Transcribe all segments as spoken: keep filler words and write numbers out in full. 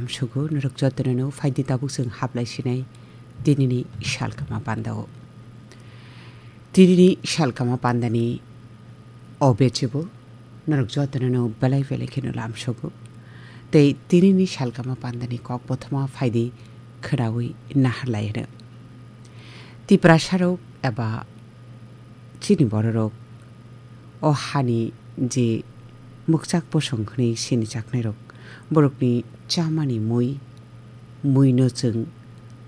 Sugo norok jotono no phaidi tabuk chwng hablai sinai tinini salkama pandao. Tinini salkama pandani o bechebo norok jotono no belai belai kheno lamsogo. Tei tinini salkama pandani kok bothoma phaidi khwnawi naharlai hwno. Tiprasarok eba chini bororok o hani je mwkchak bosong hwnwi sinijaknairok, borokni chamani mui, muino chwng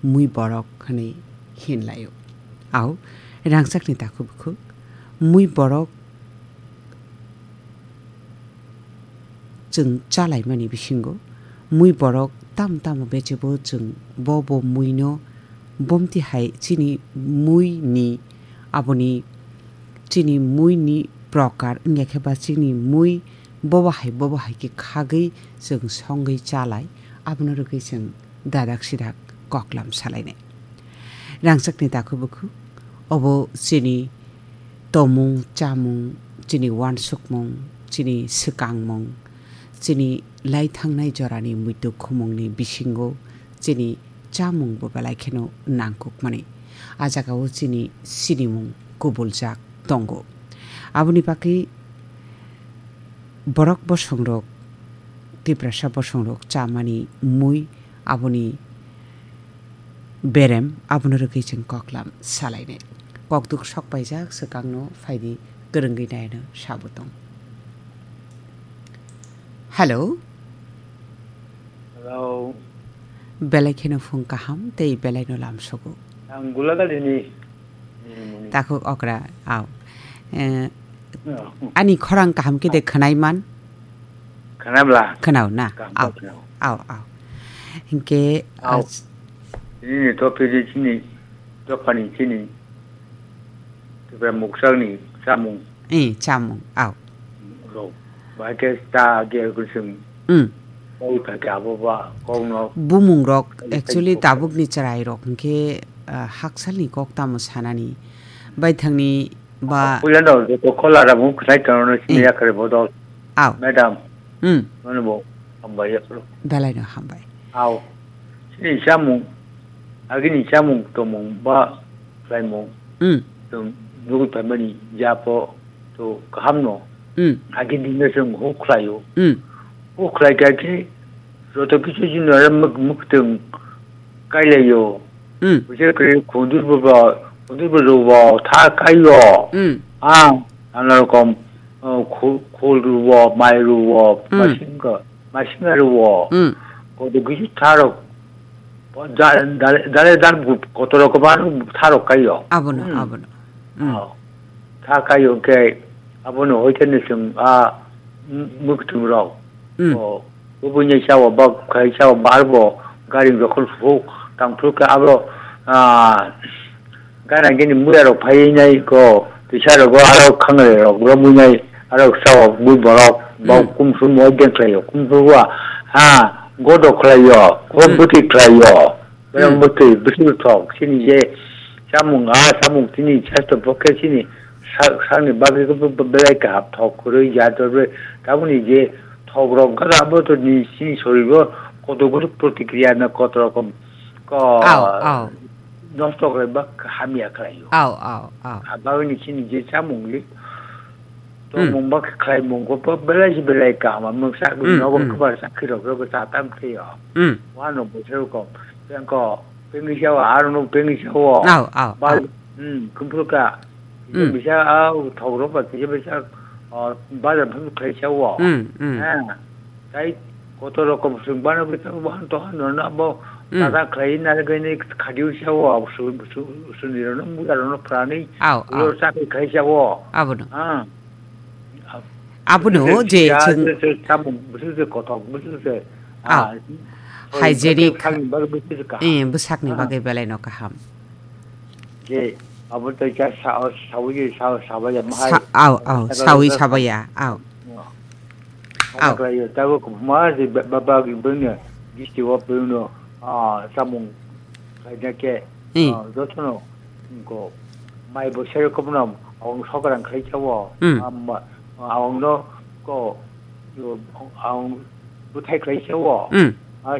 mui borok hwnwi hinlaio. Au, rangchakni takhuk bukhuk, mui borok chwng chalaimani bisingo mui borok tamo tamo bechebo chwng bo bo muino bomti hai chini muini aboni chini muini prokar wngya khe ba chini mui bobo hai bobo hai khe khagwi chwng songwi chalai abono rwgwi chwng dadak sidak koklam salainai. Rangchakni takhuk bukhuk, obo chini tomung, chamung, chini uansukmung, chini swkangmung, chini laithangnai jorani muitu khumungni bisingo chini chamungbo belai kheno nangkukmani. A jagao chini sinimung kubuljak tongo. Aboni bagwi borok bosongrok, Tiprasa bosongrok chamani mui aboni berem, abono rwgwi chwng koklam salainai. Kokduk sokpaijak swkangno phaidi kwrwngwi naino sabo tong. Hello. Hello. Belai kheno phung kaham tei belai no lamsogo. Ang Gulagalini. Takhuk okra, au. Eh, Oh. Ani khorang kaham khe de khwnai man? Khwnabla? Khwnao na? Kaham Au, khwnao. Au, au. Hinkhe, Au. ah, Chini ni to phi chini, to phani chini. Tipra muksakni chamung. Eh, chamung, au. Rok. Bai khe ta ge kusung. Hmm. Kok ta khe abo ba, kok no. Bumung rok, Kali actually, kok. Tabuk ni chwrai rok hinkhe, ah, haksalni kok tamo sanani. Baithangni ba Puila no, joto khola ra mung khwlai tongno sini Hmm. yakhare bodol. Au. Madam. Hmm. Nono bo hambai yakharo. Belai no hambai. Au. Chini chamung, agini chamung tomung ba khlaimung. Hmm. Tong nugui phaimani japo to kaham no. Hmm. Agini no chwng huk khlaio. Hmm. Huk khlai kha khe joto kichu jino muk-, muktwng kailaio. Hmm. Busi khe khundur bo ba, khundur bo ro ba tha kaio. Hmm. Ah, nana rokom, uh, khu-, khul ro ba, mai ro ba, Hmm. masing ka, masing ro ba. Hmm. Kodo kichu tharo. Dale, dale, dale, dale, koto rokom tharo kaio. Abono, Hmm. abono. Hmm. Oh. Tha kaio khe abono hoite ni chwng a m-, mwktwng rok. Hmm. O, ubuni sao ba khai sao bar bo gari jokhon huk tang thuk khe abo, ah, gana gini muya rok phai nai ko tisa rogo aro khangle rok romwi nai aro sao bui borok ba Hmm. kumsum mo den khlaio kumsum wa ha godo khlaio ko Hmm. bwtwi khlaio. Belai Hmm. bwtwi, bwtwi thok, chini je chamung, ah, chamung chini sastho pokhe chini sa-, sakni bagwi khe be-, be-, belai kaham thok kwrwi ya dorbe. Taboni je thok rok gana bo to ni chini sorir o kotor kotor protikriya na kotor rokom ko Au, au. nosto khlai ba hamya khlai o. Au, au, au. A bagwi ni chini je chamung li To Hmm. mung bak khlai mung ko pa belai si belai kaham, mung sa Hmm, nogo hmm. Kbar sa khirok rok sa tam thio. Hmm. Wano bo se ko, peng ko, peng ni sao, aro no peng ni sao. Au, au, Ba, au. Hmm, kumpul ka. Hmm. Bisa au thok rok ba, kisa bisa, ah, bazar phun khlai sao. Hmm, hmm. Ha. Tai kotor rokom sung bana bisa, wan to han no na bo, Hmm. Tata khlai na gani khadiu sao, au su, su, su ni ro no, mu ro no prani. Au, Lo au. Sa khlai sao. Abono. Ha. Abono Bwswk je siya, chwng bwswk samung, bwswk se kothok, bwswk se, Au. Ah, Hygienic. Bwswk sakni bagwi bwswk se kaham. Eh, bwsakni Ah. Bagwi belai no kaham. Je, abo tei kha sa-, sawi, sa-, sabaya mahai. Sa-, au, au, Sa-, sawi sa-, sabaya, au. Au. Au. Khlaiyo, tabuk ma je ba-, ba-, bagwi bwngno, gisti o bwngno, ah, samung khlaina khe, Hmm. Ah, jotono, ko, mai bo sero kopno, ang sokrang khlai sao, Hmm. Am, ang no, ko, ang bwthai khlai sao, Hmm. Ah,